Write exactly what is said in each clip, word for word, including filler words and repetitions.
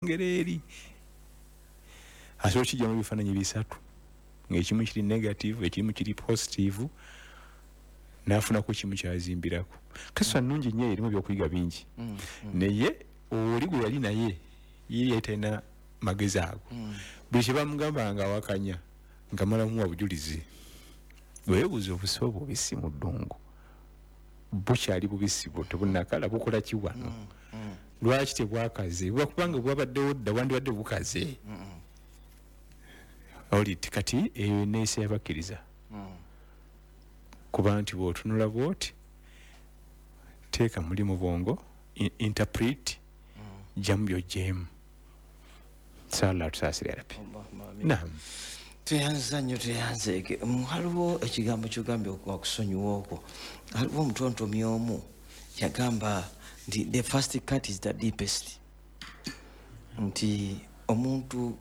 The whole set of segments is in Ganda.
Ngeri eri asobola okijjamu ebifaananyi bisatu, ng'ekimu kiri negative, ekimu kiri positive, n'afunako kimu kyazimbirako. Kisa nnungi nnyo, erimu ebyokuyiga bingi. Mm, mm. Naye oli gwe yali naye ye yali talina magezi ago. Mm. Buli kye bamugamba nga awakanya, nga malamuwa bujulizi. Weebuuza obusi obwo bubisi mu ddungu bukyali bubisi bwo tebunnakala, bukola ki wano? Mm, mm. Lwaki tebwakaze? Buba kubanga bwabaddewo dda, wandibadde bukaze. Mm. Oliti kati eyo enneeyisa y'abakkiriza. Mm. Kuba nti bw'otunula bw'oti, teeka muli mu bwongo, interpret, jjamu by'oggyeemu. Sala tusaasire Rabbi. Naam. Tweyanza nnyo, tweyanzeeke. Waliwo ekigambo ky'ogambye wakusonyiwa okwo. Waliwo omutontomi omu yagamba nti the first cut is the deepest. Nti omuntu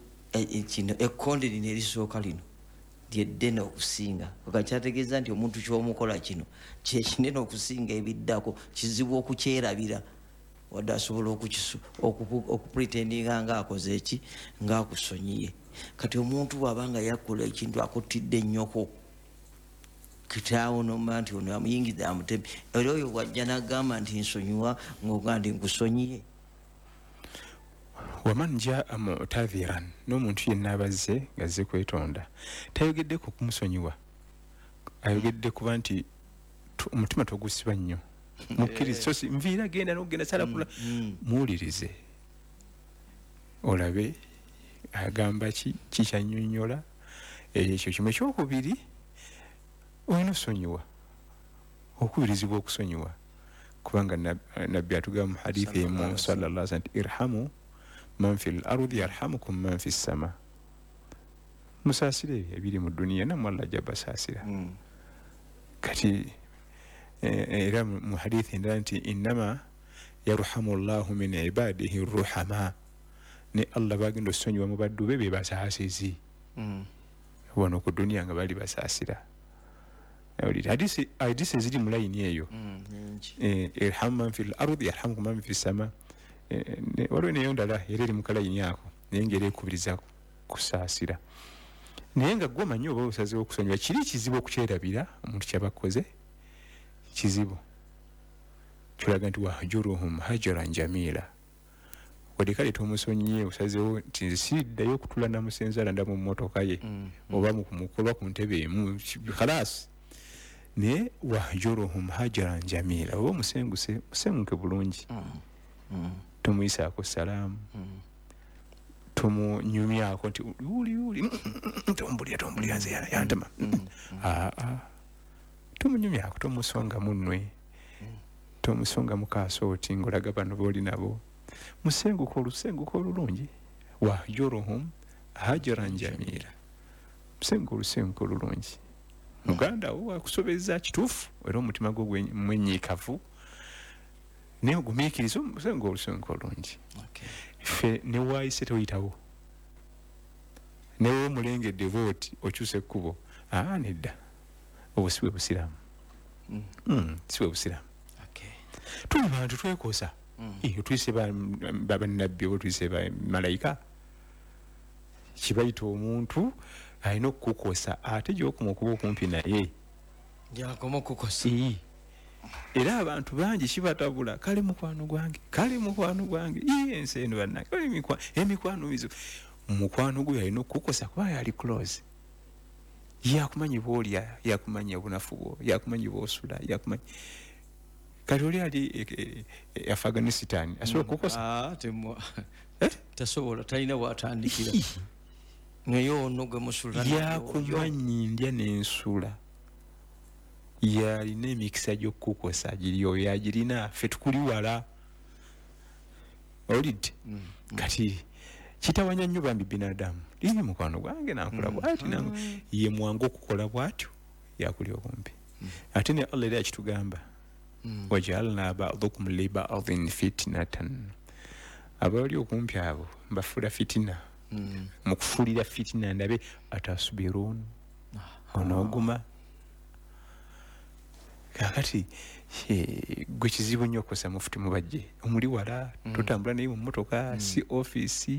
kino ekkonde lino erisooka lino lyeddene okusinga. Kyategeeza nti omuntu ky'omukola kino kye kinene okusinga ebiddako, kizibu okukyerabira. Wadde asobola okupretendinga ng'akoze eki, ng'akusonyiye. Kati omuntu bw'aba nga yakola ekintu akuttidde nnyoko, kitaawo n'omanya nti ono amuyingidde amutemi, era oyo bw'ajja n'agamba nti nsonyiwa, ng'ogamba nti nkusonyiye. Waman jaa mu'tadhiran, n'omuntu yenna abazze ng'azze kwetonda, tayogedde ku kumusonyiwa, ayogedde kuba nti omutima togusiba nnyo. Mukkirize, so si nviira genda n'okugenda sala kula, muwulirize olabe agamba ki, kikyannyonnyola. Ekyo kimu. Ekyokubiri, olina osonyiwa, okubirizibwa okusonyiwa, kubanga Nabbi atugamba mu hadithi emu sallallahu alaihi wasallam nti irhamu man fil ardi yarhamukum man fis sama, musaasire ebiri mu duniya nammwe Allah ajja basaasira. Kati era mu hadithi endala nti innama yarhamu llahu min ibadihi ruhama, ne Allah bagenda osonyiwa mu baddu be be basaasizi. Wano ku duniya nga bali basaasira. Hadisi hadisi eziri mu layini eyo, irhamu man fil ardi yarhamukum man fis sama. Waliwo neyo ndala era eri mu kalayini ako, naye ng'era ekubiriza kusaasira. Naye nga gwe omanyi oba osazeewo okusonyiwa, kiri kizibu okukyerabira omuntu ky'abakoze, kizibu. Kyolaga nti wahjuruhum hajaran jamila, wadde kale tomusonyiye, osazeewo nti nze siriddayo okutula namusenzaala nda mu mmotoka ye oba mukolwa ku ntebe emu, khalasi. Naye wahjuruhum hajaran jamila, oba omusenguse, musenguke bulungi, tomuyisaako salaamu, tomunyumyako nti uli uli tombulira tombulira nze yantama. Aa, tomunyumyako, tomusonga munnwe, tomusonga mu kaasooti ng'olaga bano b'oli nabo. Musenguka olusenguka olulungi, wahjuruhum hajaran jamila, musenguka olusenguka olulungi. Muganda wo akusobezza kituufu, era omutima gwo mwenyiikavu, naye ogumiikiriza omusenguka olusenguka olulungi. Ffe ne waayise toyitawo, newe omulengedde bw'oti okyusa ekkubo, aa nedda, obwo si bwe busiraamu. Si bwe busiraamu. Tuli bantu twekosa. Tuyise bannabbi oba tuyise bamalayika, kibayita omuntu alina okukukosa, ate gy'okoma okuba okumpi naye gy'akoma okukukosa. Era abantu bangi kibatabula, kale mukwano gwange, kale mukwano gwange, ensi eno bannange, emikwano mizibu. Mukwano gwe alina okukukosa kuba yali close, yakumanyi bw'olya, yakumanyi obunafu bwo, yakumanyi bw'osula, yakumanyi. Kati oli ali Afghanistan asobola okukukosa? Tasobola, talina w'atandikira. Naye ono gwe musula yakumanyi ndya n'ensula, yalina emikisa gy'okukukosa giri oyo yagirina, ffe tukuli wala. Owulidde? Kati kitawanya nnyo bambi binadamu, liri mukwano gwange nankola bw'ati, ye mwangu okukola bw'atyo, yakuli okumpi. Ate ne Allah era yakitugamba, wajaalna ba'dukum li ba'din fitnatan, abali okumpi abo mbafuula fitina. Mu kufuulira fitina ndabe atasubirun, onooguma. Kaakati Gwe kizibu nnyo okukozesa Mufuti Mubajje, omuli wala, mm. Totambula naye mu mmotoka, mm. si ofiisi.